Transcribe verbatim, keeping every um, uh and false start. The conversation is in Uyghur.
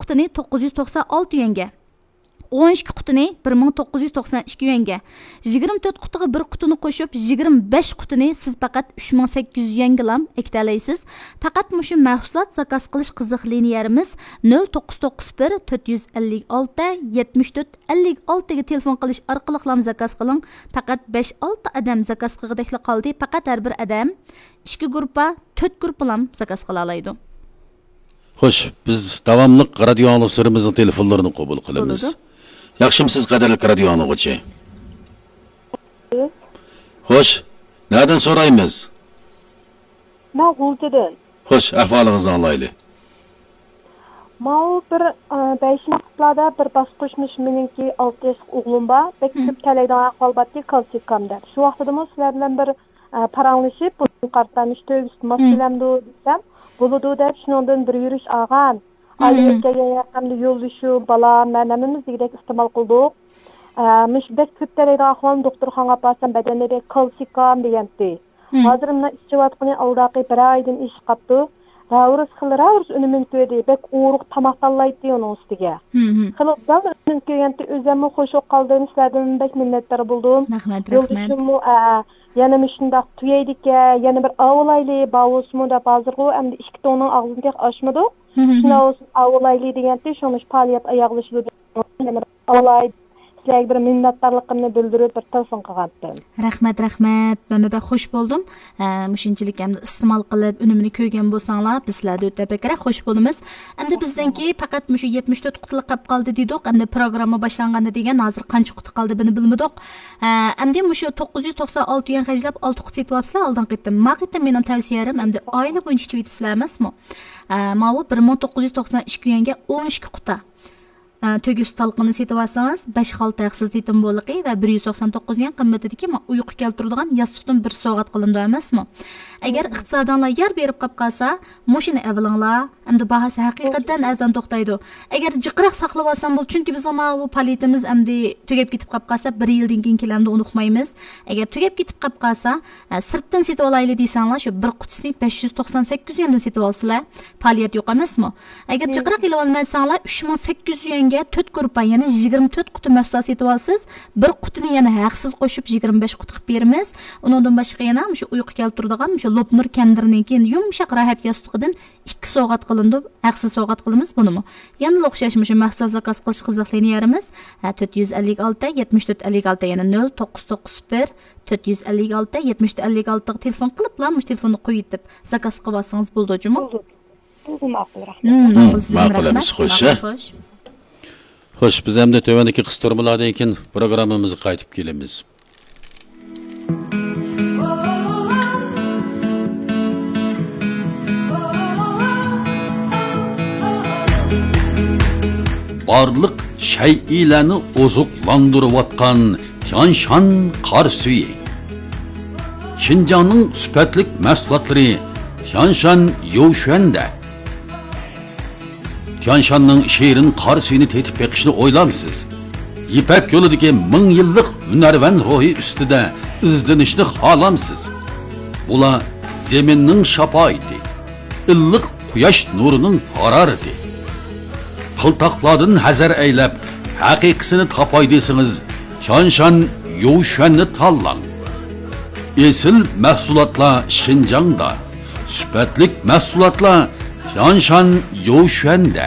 قۇتىنى توققۇز يۈز توقسان ئالتە يۈەنگە، ئون ئىككى قۇتىنى بىر مىڭ توققۇز يۈز توقسان ئىككى يۈەنگە، يىگىرمە تۆت قۇتىغا بىر قۇتىنى قوشۇپ، يىگىرمە بەش قۇتىنى سىز پەقەت ئۈچ مىڭ سەككىز يۈز يۈەنگىلا ئەكېتەلەيسىز. پەقەت مۇشۇ مەھسۇلات زاكاز قىلىش قىزىق لىنىيەمىز نۆل توققۇز توققۇز بىر، تۆت يۈز ئەللىك ئالتە، يەتمىش تۆت، ئەللىك ئالتىگە تېلېفون قىلىش ئارقىلىقلام زاكاز قىلىڭ. پەقەت بەش ئالتە ئادەم زاكاز قىلغۇدەكلا قالدى. پەقەت ھەر بىر ئادەم ئىككى گۇرۇپپا، تۆت گۇرۇپپىلام زاكاز قىلالايدۇ. خوش، بىز داۋاملىق رادىيو ئاڭلىغۇچىلىرىمىزنىڭ تېلېفونلىرىنى قوبۇل قىلىمىز. بولىدۇ. ياخشىمۇسىز، قەدىرلىك رادىيو ئاڭلىغۇچى؟ خوش، نەدىن سورايمىز؟ مەن غۇلجىدىن. خوش، ئەھۋالىڭىزنى ئاڭلايلى. ماۋۇ بىر، ئە، بەشىنچى قۇتلاردا بىر باسقۇچمۇش مېنىڭكى ئالتە ياشلىق ئوغلۇم بار. بەك كۆپ تەلەيدىغان ئەھۋال بارتى، كالسىكام دەپ. شۇ ۋاقتىدىمۇ سىلەر بىلەن بىر، ئە، پاراڭلىشىپ، بۇنىڭغا قارىتا مۇشۇ تۆگىسى ماس كېلەمدۇ دېسەم، بولىدۇ دەپ شۇنىڭدىن بىر يۈرۈش ئالغان. ئايلىنىپ كەلگەن ياقەمدە يولدىشىم، بالام، مەن ھەممىمىز دېگۈدەك ئىستېمال قىلدۇق. ئە، مۇشۇ بەك كۆپ تەلەيدىغان ئەھۋالنى دوختۇرخانىغا ئاپارسام، بەدەندە بەك كالسىكام دېگەنتى. ھازىر مۇنداق ئىچىۋاتقىنى ئالدىقى بىر ئايدىن ئېشىپ قاپتۇ. راۋرۇس خېلى راۋرۇس ئۈنۈمىنى كۆردى. بەك ئوغرۇق تاماق تاللايتتى ئۇنىڭ ئۈستىگە. خېلى ئوبدان ئۈنۈم كۆرگەنتى، ئۆزۈممۇ خوش بولۇپ قالدىم. سىلەردىن بەك مىننەتدار بولدۇم. رەھمەت، رەھمەت. يولدىشىممۇ، ئە، يەنە مۇشۇنداق تۈگەيدىكەن، يەنە بىر ئاۋۇلايلى، بار بولسىمۇ دەپ ھازىرغۇ ئەمدى ئىككى توننىڭ ئاغزىنى تېخى ئاچمىدۇق. شۇنداق بولسۇن، ئاۋۇلايلى دېگەنتى، شۇڭا مۇشۇ پائالىيەت ئاياغلىشىدۇ دەپ، يەنە بىر ئاۋۇلاي، سىلەرگە بىر مىننەتدارلىقىمنى بىلدۈرۈپ بىر تېلېفون قىلغانتىم. رەھمەت، رەھمەت. مەنمۇ بەك خوش بولدۇم. ھە، مۇشۇنچىلىك ئەمدى ئىستېمال قىلىپ، ئۈنۈمىنى كۆرگەن بولساڭلار، بىز سىلەردىن ئۆتە بەكرەك خوش بولىمىز. ئەمدى بىزنىڭكى پەقەت مۇشۇ يەتمىش تۆت قۇتىلىق قېلىپ قالدى دېدۇق. ئەمدى پروگرامما باشلانغاندا دېگەن، ھازىر قانچە قۇتى قالدى، بۇنى بىلمىدۇق. ھە، ئەمدى مۇشۇ توققۇز يۈز توقسان ئالتە يۈەن خەجلەپ، ئالتە قۇت سېتىۋاپسىلەر ئالدىنقى قېتىم. ما قېتىم مېنىڭ تەۋسىيەم، ئەمدى ئائىلە بويىچە ئىچىۋېتىپسىلەر ئەمەسمۇ؟ ھە، ماۋۇ بىر مىڭ توققۇز يۈز توقسان ئىككى يۈەنگە ئون ئىككى قۇتا. ئە، تۆگە سۈت ھالقىنى سېتىۋالسىڭىز، بەش خالتا ھەقسىز تېتىم بولىقى ۋە بىر يۈز توقسان توققۇز يۈەن قىممىتىدىكى ما-، ئۇيقۇ كەلتۈرىدىغان ياستۇقتىن بىر سوۋغات قىلىنىدۇ ئەمەسمۇ؟ ئەگەر ئىقتىسادىڭلار يار بېرىپ قاپ قالسا، مۇشۇنى ئەۋېلىڭلار. ئەمدى باھاسى ھەقىقەتەن ئەرزان توختايدۇ. ئەگەر جىقراق ساقلىۋالسام بولىدۇ، چۈنكى بىزنىڭ ماۋۇ پائالىيىتىمىز ئەمدى تۈگەپ كېتىپ قاپ قالسا، بىر يىلدىن كېيىن كېلەمدۇ ئۇنتۇمايمىز. ئەگەر تۈگەپ كېتىپ قاپ قالسا، ئە، سىرتتىن سېتىۋالايلى دېسەڭلار، شۇ بىر قۇتىسىنى بەش يۈز توقسان سەككىز يۈەندىن سېتىۋالسىلەر. پائالىيەت يوق ئەمەسمۇ؟ ئەگەر جىقراق ئېلىۋالمايساڭلار، ئۈچ مىڭ سەككىز يۈز يۈەنگە تۆت گۇرۇپپا، يەنى يىگىرمە تۆت قۇتى مەھسۇلات سېتىۋالىسىز. بىر قۇتىنى يەنە ھەقسىز قوشۇپ، يىگىرمە بەش قۇتى قىلىپ بېرىمىز. ئۇنىڭدىن باشقا يەنە مۇشۇ ئۇيقۇ كەلتۈرىدىغان مۇشۇ لوپنۇر كەندىرىنىڭكى يۇمشاق راھەت ياستۇقىدىن ئىككى سوۋغات قىلىنىدۇ، ھەقسىز سوۋغات قىلىمىز بۇنىمۇ. يەنىلا ئوخشاش مۇشۇ مەھسۇلات زاكاز قىلىش قىزىق لىنىيەمىز، ھە، تۆت يۈز ئەللىك ئالتە، يەتمىش تۆت، ئەللىك ئالتە، يەنە نۆل توققۇز توققۇز بىر، تۆت يۈز ئەللىك ئالتە، يەتمىش تۆت، ئەللىك ئالتىغا تېلېفون قىلىپلا مۇشۇ تېلېفوننى قويۇۋېتىپ زاكاز قىلىۋالسىڭىز بولىدۇ جۇمۇ. بولىدۇ. بولىدۇ، ماقۇل، رەھمەت. مم، ماقۇل، سىزگە ماقۇل رەھمەت. ئەمىسە، خوش، ھە؟ خوش. خوش، بىز ئەمدى تۆۋەندىكى قىسقا تۈرمىلاردىن كېيىن پروگراممىمىزغا قايتىپ كېلىمىز. بارلىق شەيئىلەرنى ئوزۇقلاندۇرۇۋاتقان تيانشان قار سۈيى. شىنجاڭنىڭ سۈپەتلىك مەھسۇلاتلىرى تيانشان يوشۈەندە. تيانشاننىڭ شېرىن قار سۈيىنى تېتىپ بېقىشنى ئويلامسىز؟ يىپەك يولىدىكى مىڭ يىللىق ھۈنەرۋەن روھى ئۈستىدە ئىزدىنىشنى خالامسىز؟ بۇلار زېمىننىڭ شاپائىتى، ئىللىق قۇياش نۇرىنىڭ ھارارىتى. قىلتاقلاردىن ھەزەر ئەيلەپ، ھەقىقىيسىنى تاپاي دېسىڭىز، تيانشان يوشۈەننى تاللاڭ. ئېسىل مەھسۇلاتلار شىنجاڭدا، سۈپەتلىك مەھسۇلاتلار تيانشان يوشۈەندە.